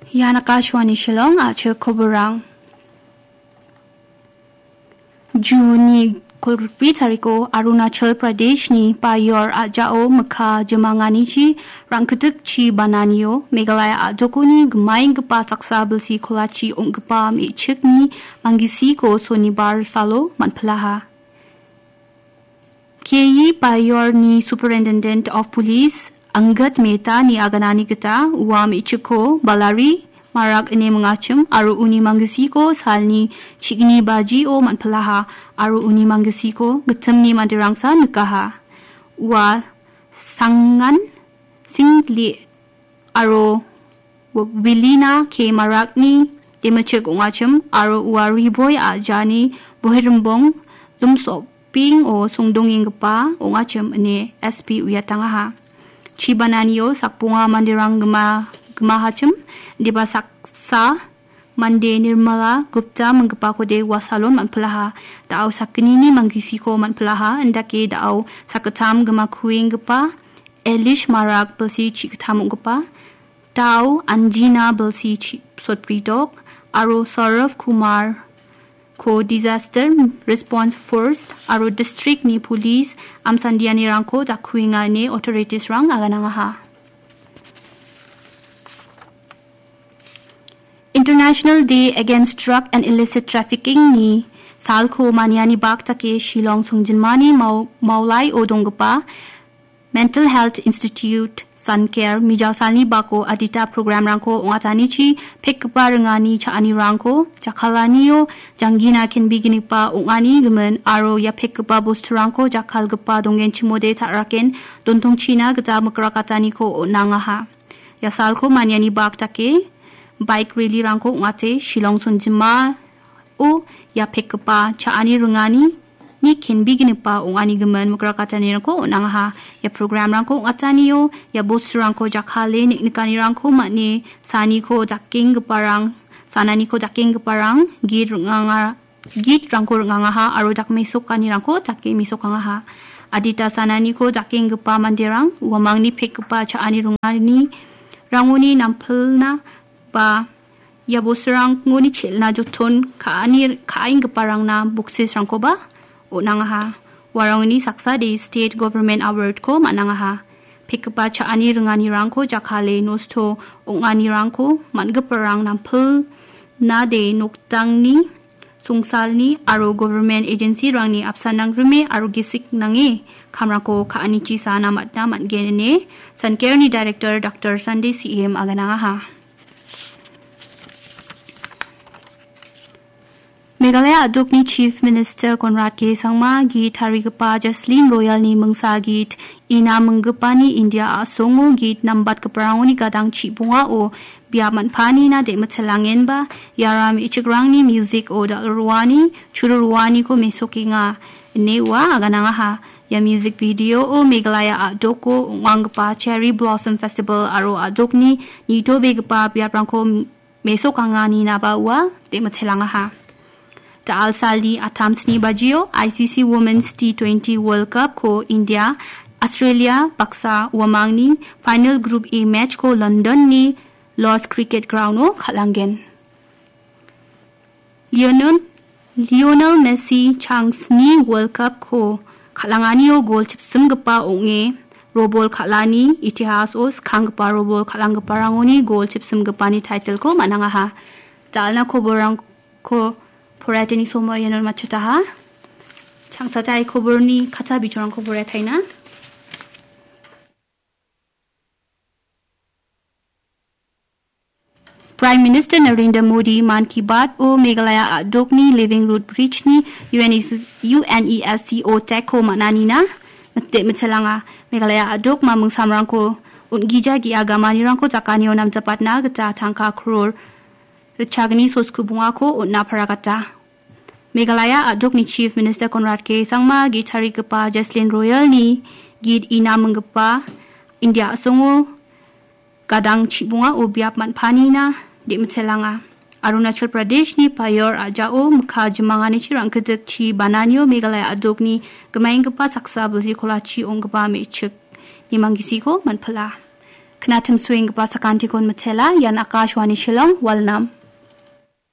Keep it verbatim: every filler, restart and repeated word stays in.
Ian Akashvani Shillong, a·chik koborang. Juni kolgrikbri tariko Arunachal Pradeshni Payor a·jao mikka jimanganichi rangkitik chi bananio Meghalaya a·dokoni gimaenggipa saksa bilsi kolachi ong·gipa me·chikni manggisiko sonibar salo man·pilaha. K E Payorni Superintendent of Police Angad Mehta-ni aganani gita ua me·chikko Balari Marak ine mingachim aro uni manggisiko salni chigni bajio man·pilaha aro uni manggisiko gitimni manderangsa nikaha. Ua Sangan Singli aro Wilina K Marakni demichik ong·achim aro ua Riboi a·jani Boherimbong Lumsopingo songdongenggipa ong·achim ine S P uiatangaha. Chibananio sakbonga manderang gima-, gimahachim, indiba saksa mande Nirmala Gupta minggipakode ua salon man·pilaha. Da·o sakgnini manggisiko man·pilaha, indake da·o sakgittam gimakuenggipa Elish Marak bilsi chigittam ong·gipa, Tao Anjina bilsi chi-, sotbridok, aro Saurav Kumar ko Disaster Response Force aro district-ni police amsandianirangko dakkuenga ine authorities-rang aganangaha. International Day Against Drug and Illicit Trafficking-ni salko maniani bak dake Shillong songjinmani Mau-, Maulaio donggipa Mental Health Institute, Sankare, mijal salni bako adita programrangko ong·atanichi pekgipa ringani cha·anirangko jakkalanio janggina kenbeginigipa ong·ani gimin aro ia pekgipa bosturangko jakkalgipa donggenchimode ta·raken dontongchina gita mikrakataniko on·angaha. Ia salko maniani bak dake bike rally-rangko ong·ate Shillong songjima o ia pekgipa cha·ani ringani ni kenbeginigipa ong·ani gimin mikrakatanirangko on·angaha. Ia programrangko ong·atanio ia bosturangko jakkale nik-, nikanirangko man·e saniko jakenggiparang, sananiko jakenggiparang git ring·anga, gitrangko ring·angaha aro jakmesokanirangko jake mesokangaha. Adita sananiko jakenggipa manderang uamangni pekgipa cha·ani ringani rangoni nampilna ba ia bosturangoni chel·na joton ka·ani, ka·enggiparangna boxes-rangkoba on·angaha. Uarangni saksade State Government Award-ko man·angaha. Pekgipa cha·ani ringanirangko jakkale nosto ong·anirangko man·giparang nampilnade noktangni, songsalni aro government agency-rangni apsan nangrime aro gisik nange kamrangko ka·anichi sana matna man·gen ine Sankareni Director Doctor Sunday C M aganangaha. Meghalaya a·dokni Chief Minister Conrad K Sangma git tarigipa Jaslin Royal-ni mingsa git ina minggipani India a·songo git nambatgiparangoni gadang chibongao biap man·panina de·mitelangenba, iara me·chikrangni music-o dal·roani, churoroaniko mesokenga, ine ua aganangaha. Ia music video-o Meghalaya a·doko ong·anggipa Cherry Blossom Festival aro a·dokni nitobegipa biaprangko mesokanganinaba ua de·mitelangaha. Da·al salni attam sni bajio I C C Women's T twenty World Cup-ko India, Australia baksa uamangni final Group A match-ko London-ni Lord's Cricket Ground-o kal·angen. Lionel, Lionel Messi changsni World Cup-ko kal·anganio gol chipsimgipa ong·e, robol kal·ani itihaso skanggipa robol kal·anggiparangoni gol chipsimgipani title-ko man·angaha. Da·alna koborrangko poraiatani somo iano matchotaha. Changsatai koborni katsa bijorangko poraiataina. Prime Minister Narendra Modi Mann Ki Baat-o Meghalaya a·dokni Living Root Bridge-ni U N E S, U N E S C O tag-ko man·anina mite-, mitelanga. Meghalaya a·dokma mingsamrangko on·gija ge·a gamanirangko jakanio namjapatna gita tangka kror ritchagni soskubongako on·na paragata. Meghalaya a·dokni Chief Minister Conrad K Sangma git tarigipa Jaslin Royal-ni git ina minggipa India a·songo gadang chibongao biap man·panina de·mitelanga. Arunachal Pradeshni Payor a·jao mikka jimanganichi rangkitik chi bananio Meghalaya a·dokni gimaenggipa saksa bilsi kolachi ong·gipa me·chikni manggisiko man·pila. Knatim suenggipa sakantikon mitela, ian Akashvani Shillong, Walnam.